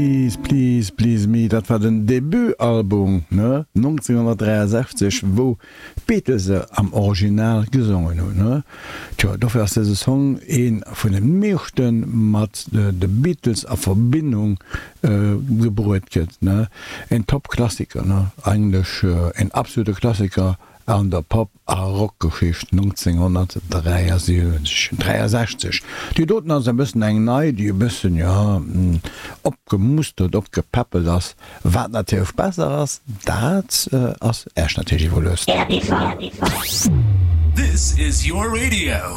Please, Please, Please Me, dat war den Debut-Album, ne, 1963, wou d'Beatles se am Original gesongen hunn, ne. Tjo, dofir ass dëse Song ee vun de meeschte mat de Beatles a Verbindung gebruet gëtt, ne. En Top-Klassiker, ne, eigentlech en absolute Klassiker an der Pop a Rockgeschicht 1963, 63. Déi doten ass e bëssen eng nei, déi e bëssen, jo, opgemustert, opgepäppelt ass. Wat natierlech besser ass, dat ass Äech natierlech iwwerluecht. This is your radio.